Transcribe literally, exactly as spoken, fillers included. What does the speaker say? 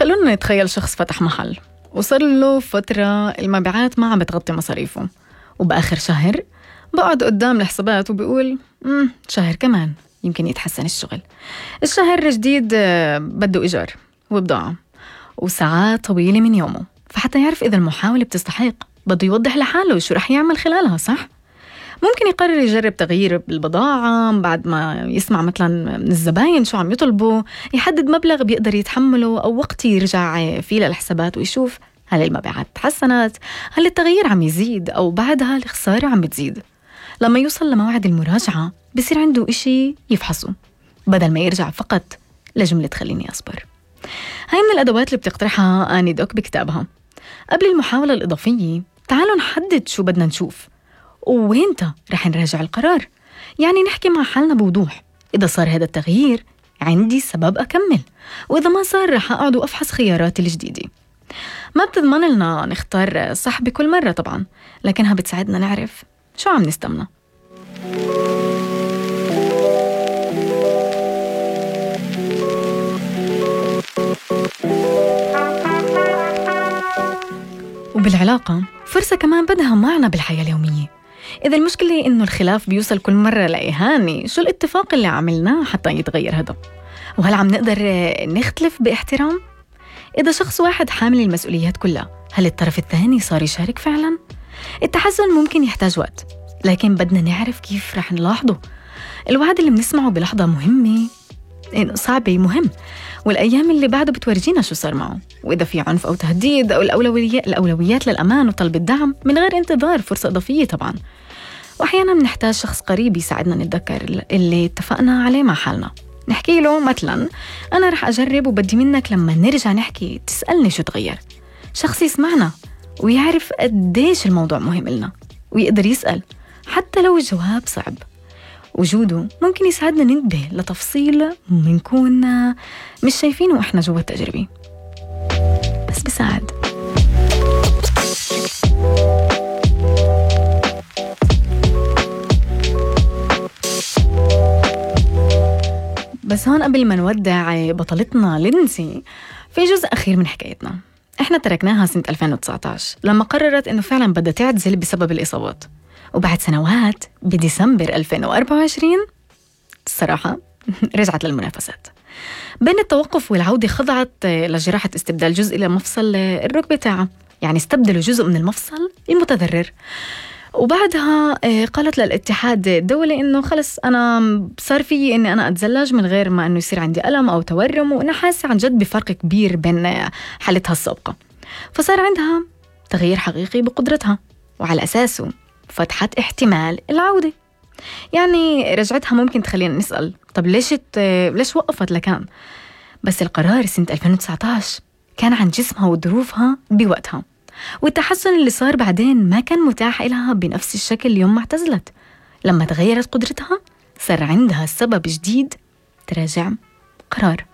خلونا نتخيل شخص فتح محل وصار له فترة المبيعات ما عم بتغطي مصاريفه، وبآخر شهر بقعد قدام الحسابات وبيقول امم شهر كمان يمكن يتحسن الشغل. الشهر الجديد بده إيجار وبضاعة وساعات طويلة من يومه، فحتى يعرف إذا المحاولة بتستحق بده يوضح لحاله شو رح يعمل خلالها. صح؟ ممكن يقرر يجرب تغيير بالبضاعة بعد ما يسمع مثلا من الزباين شو عم يطلبوا، يحدد مبلغ بيقدر يتحمله أو وقت يرجع فيه للحسابات ويشوف هل المبيعات تحسنت، هل التغيير عم يزيد أو بعدها الخسارة عم بتزيد. لما يوصل لموعد المراجعة بصير عنده إشي يفحصه بدل ما يرجع فقط لجملة خليني أصبر. هاي من الأدوات اللي بتقترحها آني دوك بكتابها. قبل المحاولة الإضافية تعالوا نحدد شو بدنا نشوف ووينتا رح نراجع القرار، يعني نحكي مع حالنا بوضوح. إذا صار هذا التغيير عندي سبب أكمل، وإذا ما صار رح أقعد وأفحص خياراتي الجديدة. ما بتضمن لنا نختار صح بكل مرة طبعا، لكنها بتساعدنا نعرف شو عم نستمنى. وبالعلاقة فرصة كمان بدها معنى بالحياة اليومية. إذا المشكلة إنه الخلاف بيوصل كل مرة لإهانة، شو الاتفاق اللي عملناه حتى يتغير هذا؟ وهل عم نقدر نختلف باحترام؟ إذا شخص واحد حامل المسؤوليات كلها، هل الطرف الثاني صار يشارك فعلا؟ التحسن ممكن يحتاج وقت، لكن بدنا نعرف كيف رح نلاحظه. الوعد اللي بنسمعه بلحظة مهمة صعبة مهم، والأيام اللي بعده بتورجينا شو صار معه. وإذا في عنف أو تهديد أو الأولويات, الأولويات للأمان وطلب الدعم من غير انتظار فرصة إضافية طبعا. وأحيانا بنحتاج شخص قريب يساعدنا نتذكر اللي اتفقنا عليه مع حالنا. نحكي له مثلا أنا رح أجرب وبدي منك لما نرجع نحكي تسألني شو تغير. شخص يسمعنا ويعرف قديش الموضوع مهم لنا ويقدر يسأل حتى لو الجواب صعب. وجوده ممكن يساعدنا ننتبه لتفصيل منكون مش شايفينه وإحنا جوا التجربة، بس بيساعد. بس هون قبل ما نودع بطلتنا لينسي في جزء أخير من حكايتنا. إحنا تركناها سنة ألفين وتسعة عشر لما قررت إنه فعلا بدها تعتزل بسبب الإصابات، وبعد سنوات بديسمبر ألفين وأربعة وعشرين الصراحة رجعت للمنافسات. بين التوقف والعودة خضعت لجراحة استبدال جزء لمفصل الركبة تاعها، يعني استبدلوا جزء من المفصل المتضرر. وبعدها قالت للاتحاد الدولي إنه خلص أنا صار فيي إني أنا أتزلج من غير ما إنه يصير عندي ألم أو تورم، وأنا حاسة عن جد بفرق كبير بين حالتها السابقة. فصار عندها تغيير حقيقي بقدرتها، وعلى أساسه فتحت احتمال العودة. يعني رجعتها ممكن تخلينا نسأل طب ليش ليش وقفت لكان؟ بس القرار سنة ألفين وتسعة عشر كان عن جسمها وظروفها بوقتها، والتحسن اللي صار بعدين ما كان متاح لها بنفس الشكل يوم ما اعتزلت. لما تغيرت قدرتها صار عندها سبب جديد تراجع قرار.